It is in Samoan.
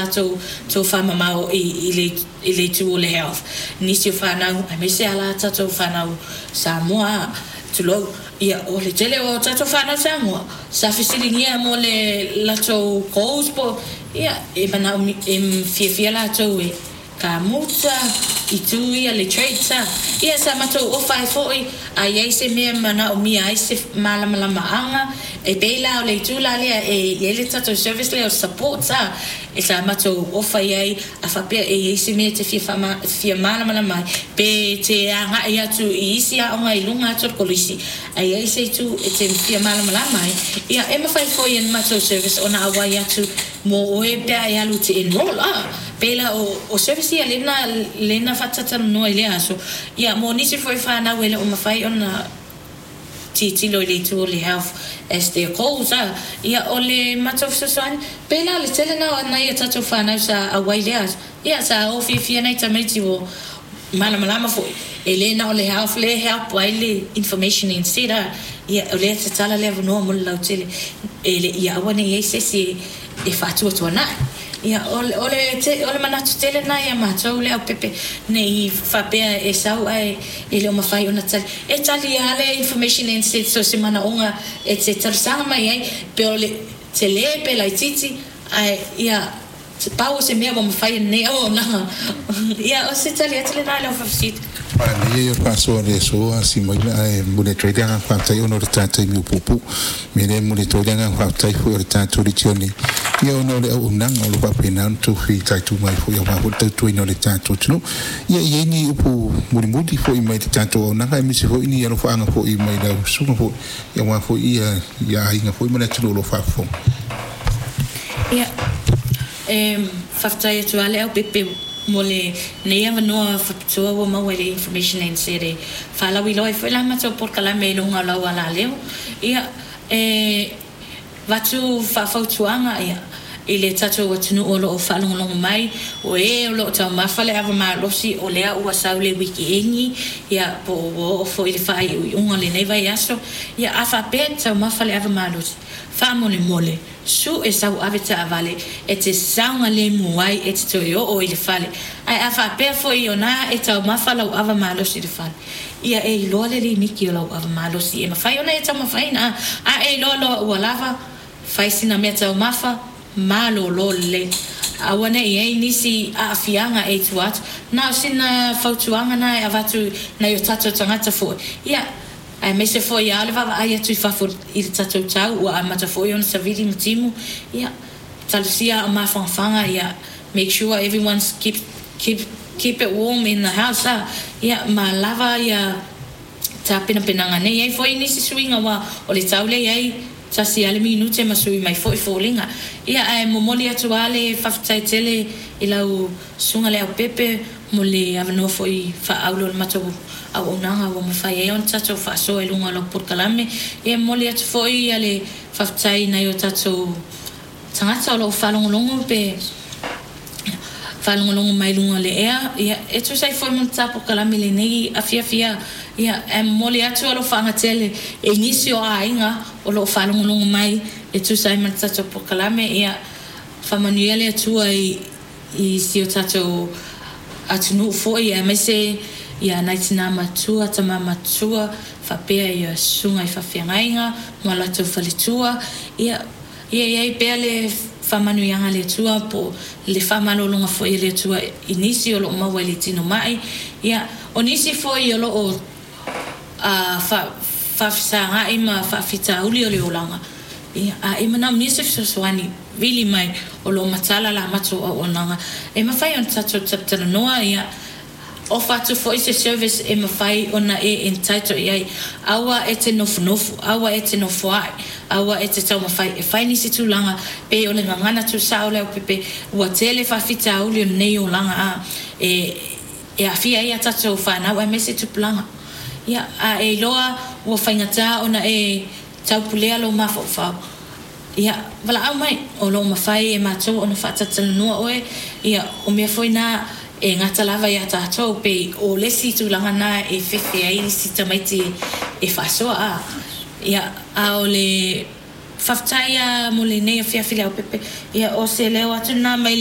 latou tofamamao i le itu o le health. Nisi o fanau, aemaise lava la tatou fanau Samoa, tulou, ia, o le tele o tatou fanau Samoa, sa fesiligia mo le latou goals po, ia, e manaomia, e fiafia latou e kamuta, itu ia le trades a. Ia sa matou ofa ai foi, a i ai se mea e manaomia ai se malamalamaaga, e pei la o le itu la lea e i ai le tatou service lea o support a, e sa matou ofa i ai, a faapea e i ai se mea e te fia malamalama ai, pe e te agai atu i isi aoga i luga atu o le kolisi, a i ai se itu e te fia malamalama ai, ia e mafai foi e le matou service ona auai atu mo oe pe a e alu e te enroll a. Pei la o service ia lena lena faatatalanoa i lea aso, ia mo nisi foi fanau e le o mafai ona tilotilo i le itu o le health as their goals a, ia o le matou fesoasoani, pei la o le tele na o nai a tatou fanau sa auai i lea aso, ia sa o fiafia nai tamaiti ua malamalama foi, e le na o le health lea e help ai le information instead a, ia o lea e tatala le avanoa mo le lautele e le ia aua ne i i ai se isi e faatuatuanai. Ia, o le, o le manatu tele lena ia matou le aupepe, ne i faapea e sau ae e le o mafai ona tali. E tali lava le information instead so se manaoga e te talosaga mai ai, pe o le tele pe laitiiti, ae ia pau o se mea ua mafai e lenei auaunaga. Ia, o se tali atu lena i lau faafesili. Manaia ia o le faasoa o le aso a Simaina ae momoli atu ai le agaga faafetai ona o le ta taimi ua puupuu. Mea lea e momoli atu ai le agaga faafetai foi o le tatou Legione ia ona o le auaunaga o lo o faapena ona tou fitaituga ai foi aua foi le tautuaina o le tatou atunuu. Ia e i ai ni upu mulimuli foi mai le tatou auaunaga aemaise foi ni alofaaga foi mai lau susuga foi aua foi ia aiga foi ma le atunuu o lo o faafofoga. Ia, e faafetai atu lava le aupepe mo lenei avanoa faapitoa ua maua i le Information NZ e faalauiloa ai foi la matou polokalame i luga o lau alaleo. Ia, e avatu faafautuaga i le tatou atunuu o lo o faalogologo mai, o e o lo o taumafa le ava malosi, o lea ua sau le wikieni, ia, po o ua oo foi i le faaiuiuga o lenei vaiaso. Ia, a faapea e te taumafa le ava malosi, faamolemole, sue sau ave taavale e te saogalemu ai e te toe oo i le fale. Ae a faapea foi o na e taumafa lau ava malosi i le fale, ia e iloa le limiti o lau ava malosi e mafai ona e taumafaina. A e iloa loa ua lava, fai sina mea taumafa, malolo lelei. Aua ne i i ai nisi aafiaga e i tua atu. Na o sina fautuaga na e avatu i nai o tatou tagata foi, ia, aemaise foi a o le vaavaai atu i fafo i le tatou tau ua amata foi ona savili ma timu, ia, talosia a o mafanafana, ia, make sure everyone's keep, keep, keep it warm in the house, a, ia, ma lava ia tapenapenaga. Ne i ai foi nisi suiga aua o le tau lea e i ai, tasi lava le minute ma sui mai foi foliga. Ia, ae momoli atu lava le faafetai tele i lau Susuga Leaupepe mo le avanoa foi faaauro o le matou auaunaga ua mafai ai ona tatou faasoa i luga o lau polokalame. Ia, e momoli atu foi le faafetai i nai o tatou tagata o lo o faalogologo pe faalogologo mai luga o le ea, ia, e tusa ai foi ma le ta polokalame i lenei afiafi a, ia, ae momoli atu alofaaga tele i nisi o aiga o lo o faalogologo mai e tusa ai ma le tatou polokalame, ia, faamanuia le Atua i i si o tatou atunuu foi aemaise ia nai tinā matua, tamā matua, faapea ia susuga i faafeagaiga ma latou faletua, ia, Ia i ai pea le faamanuiaga a le Atua po o le faamalologa foi a le Atua i nisi o lo o maua i le tino mai. Ia, o nisi foi o lo o faafesagai ma faafitauli o le olaga, ia, a e manaomia se fesoasoani, vili mai, o lo o matala la matou auaunaga e mafai ona tatou talatalanoa, ia, Ofa atu foi se service e mafai ona e entitle i ai. Aua e te nofonofo, aua e te nofoa'i, aua e te taumafai e fai nisi tulaga pei o le gagana tuusao o le aupepe. Ua tele faafitauli o lenei olaga a e e aafia ai a tatou fanau aemaise tupulaga. Ia, a e iloa ua faigata ona e taupulea lou mafaufau, Ia, valaau mai, o lo o mafai e matou ona faatalatalanoa oe, ia, o mea foi na e gata lava iā tatou, pei o le isi tulaga na e fefe ai isi tamaiti e faasoa, a, ia, a o le faafetai lava mo lenei afiafi Leaupepe, ia, o se leo atu lena mai.